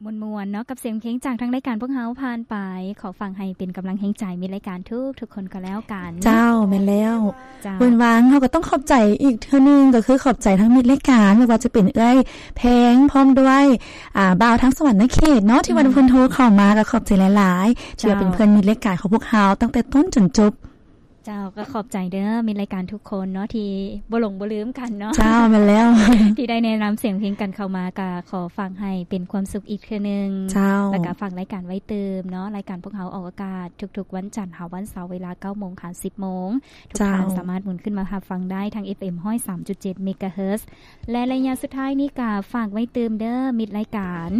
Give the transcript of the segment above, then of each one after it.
ມ່ວນໆເນາະ ກັບສຽງເພງຈາກທາງລາຍການພວກເຮົາຜ່ານໄປ. ຂໍຝາກໃຫ້ເປັນກຳລັງແຮງໃຈມິດລາຍການທຸກໆຄົນກໍແລ້ວກັນ. ເຈົ້າ ແມ່ນແລ້ວ. ເຈົ້າ ເພິ່ນວ່າເຮົາກໍຕ້ອງຂອບໃຈອີກເທື່ອໜຶ່ງ ກໍຄືຂອບໃຈທາງມິດລາຍການ ບໍ່ວ່າຈະເປັນເອື້ອຍແພງ ພ້ອມດ້ວຍ ອ່າ ບ່າວທາງສະຫວັນນະເຂດເນາະ ທີ່ວ່າ ອືມ ເພິ່ນໂທເຂົ້າມາ ກໍຂອບໃຈຫຼາຍໆ ເຈົ້າ ທີ່ວ່າເປັນເພື່ອນມິດລາຍການຂອງພວກເຮົາຕັ້ງແຕ່ຕົ້ນຈົນຈົບ. ເຈົ້າ ກໍຂອບໃຈເດີມິດລາຍການທຸກຄົນເນາະ ທີ່ບໍ່ຫຼົງບໍ່ລືມກັນເນາະ. ເຈົ້າ ແມ່ນແລ້ວ. ທີ່ໄດ້ແນະນຳສຽງເພງກັນເຂົ້າມາ ກໍຂໍຝາກໃຫ້ເປັນຄວາມສຸກອີກເທື່ອໜຶ່ງ. ເຈົ້າ ແລ້ວກໍຝາກລາຍການໄວ້ຕື່ມເນາະ. ລາຍການພວກເຮົາອອກອາກາດທຸກໆວັນຈັນຫາວັນເສົາ ເວລາເກົ້າໂມງຫາສິບໂມງ. ທຸກທ່ານ ເຈົ້າ ສາມາດໝູນຂຶ້ນມາຮັບຟັງໄດ້ທາງ ເອັຟເອັມ ຮ້ອຍສາມຈຸດເຈັດ ເມກາເຮີດ. ແລະ ໄລຍະສຸດທ້າຍນີ້ກະຝາກໄວ້ຕື່ມເດີມິດລາຍການ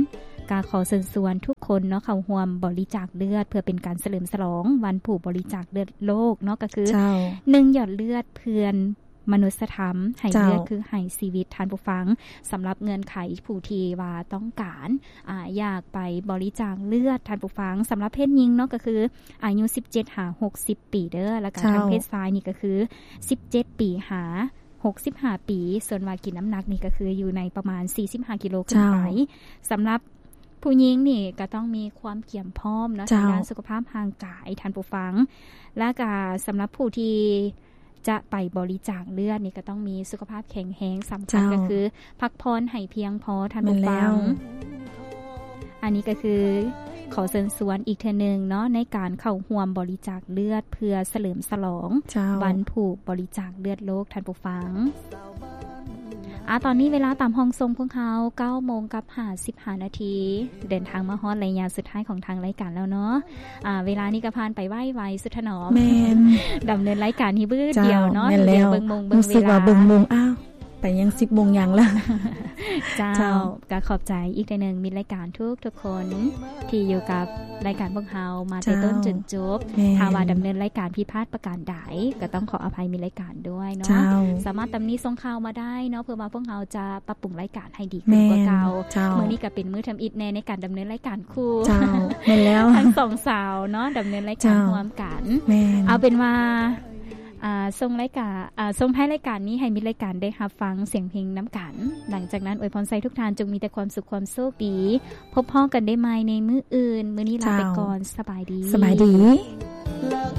ກະຂໍເຊີນຊວນທຸກຄົນເນາະ ເຂົ້າຮ່ວມບໍລິຈາກເລືອດ ເພື່ອເປັນການສະເຫຼີມສະຫຼອງວັນຜູ້ບໍລິຈາກເລືອດໂລກເນາະ ກະຄື ເຈົ້າ ໜຶ່ງ ຢອດເລືອດເພື່ອມະນຸດສະທຳ ໃຫ້ ເຈົ້າ ເລືອດຄືໃຫ້ຊີວິດ. ທ່ານຜູ້ຟັງ ສຳລັບເງື່ອນໄຂຜູ້ທີ່ວ່າຕ້ອງການ ອາ ຢາກໄປບໍລິຈາກເລືອດ ທ່ານຜູ້ຟັງ ສຳລັບເພດຍິງເນາະ ກະຄືອາຍຸສິບເຈັດຫາຫົກສິບປີເດີ ແລ້ວກະ ເຈົ້າ ທາງເພດຊາຍນີ້ກະຄືສິບເຈັດປີຫາ ຫົກສິບຫ້າປີ ສ່ວນວ່າກິນນ້ຳໜັກນີ້ກໍຄືຢູ່ໃນປະມານສີ່ສິບຫ້າກິໂລຂຶ້ນໄປ. ເຈົ້າ ສຳລັບຜູ້ຍິງນີ້ກໍຕ້ອງມີຄວາມກຽມພ້ອມເນາະ ເຈົ້າ ທາງດ້ານສຸຂະພາບຮ່າງກາຍ ທ່ານຜູ້ຟັງ. ແລ້ວກໍສຳລັບຜູ້ທີ່ຈະໄປບໍລິຈາກເລືອດນີ້ ກໍຕ້ອງມີສຸຂະພາບແຂງແຮງ. ສຳຄັນ ເຈົ້າ ກໍຄືພັກຜ່ອນໃຫ້ພຽງພໍ ທ່ານຜູ້ຟັງ. ແມ່ນແລ້ວ. ອັນນີ້ກໍຄືຂໍເຊີນຊວນອີກເທື່ອໜຶ່ງເນາະ ໃນການເຂົ້າຮ່ວມບໍລິຈາກເລືອດ ເພື່ອສະເຫຼີມສະຫຼອງ ເຈົ້າ ວັນຜູ້ບໍລິຈາກເລືອດໂລກ ທ່ານຜູ້ຟັງ. ອາ ຕອນນີ້ເວລາຕາມຫ້ອງສົ່ງພວກເຮົາ ເກົ້າໂມງກັບຫ້າສິບຫ້ານາທີ ເດີນທາງມາຮອດໄລຍະສຸດທ້າຍຂອງທາງລາຍການແລ້ວເນາະ. ອາ ເວລານີ້ກໍຜ່ານໄປໄວໆ ສຸດຖະໜອມ. ແມ່ນ. ດຳເນີນລາຍການນີ້ບຶດດຽວເນາະ. ເຈົ້າ ແມ່ນແລ້ວ. ເບິ່ງໂມງເບິ່ງເວລາ ຮູ້ສຶກວ່າເບິ່ງໂມງ ອ້າວ ໄປຍັງສິບໂມງຍັງລະ. ເຈົ້າ ເຈົ້າ ກໍຂອບໃຈອີກເທື່ອໜຶ່ງມິດລາຍການທຸກໆຄົນ ທີ່ຢູ່ກັບລາຍການພວກເຮົາມາແຕ່ ເຈົ້າ ຕົ້ນຈົນຈົບ. ແມ່ນ. ຖ້າວ່າດຳເນີນລາຍການຜິດພາດປະການໃດ ກໍຕ້ອງຂໍອະໄພມິດລາຍການດ້ວຍເນາະ. ເຈົ້າ. ສາມາດຕຳໜິສົ່ງຂ່າວມາໄດ້ເນາະ ເພື່ອວ່າພວກເຮົາຈະປັບປຸງລາຍການໃຫ້ດີຂຶ້ນກວ່າເກົ່າ. ແມ່ນ. ເຈົ້າ. ມື້ນີ້ກໍເປັນມື້ທຳອິດແນ່ໃນການດຳເນີນລາຍການຄູ່. ເຈົ້າ ແມ່ນແລ້ວ. ທັງສອງສາວເນາະ ດຳເນີນລາຍການ ເຈົ້າ ຮ່ວມກັນ. ແມ່ນ. ເອົາເປັນວ່າ ອາ ສົ່ງລາຍການ ອາ ສົ່ງທ້າຍລາຍການນີ້ໃຫ້ມິດລາຍການໄດ້ຮັບຟັງສຽງເພງນຳກັນ. ຫຼັງຈາກນັ້ນອວຍພອນໃສ່ທຸກທ່ານຈົ່ງມີແຕ່ຄວາມສຸກຄວາມໂຊກດີ. ພົບພໍ້ກັນໄດ້ໃໝ່ໃນມື້ອື່ນ. ມື້ນີ້ລາໄປກ່ອນ. ເຈົ້າ. ສະບາຍດີ. ສະບາຍດີ.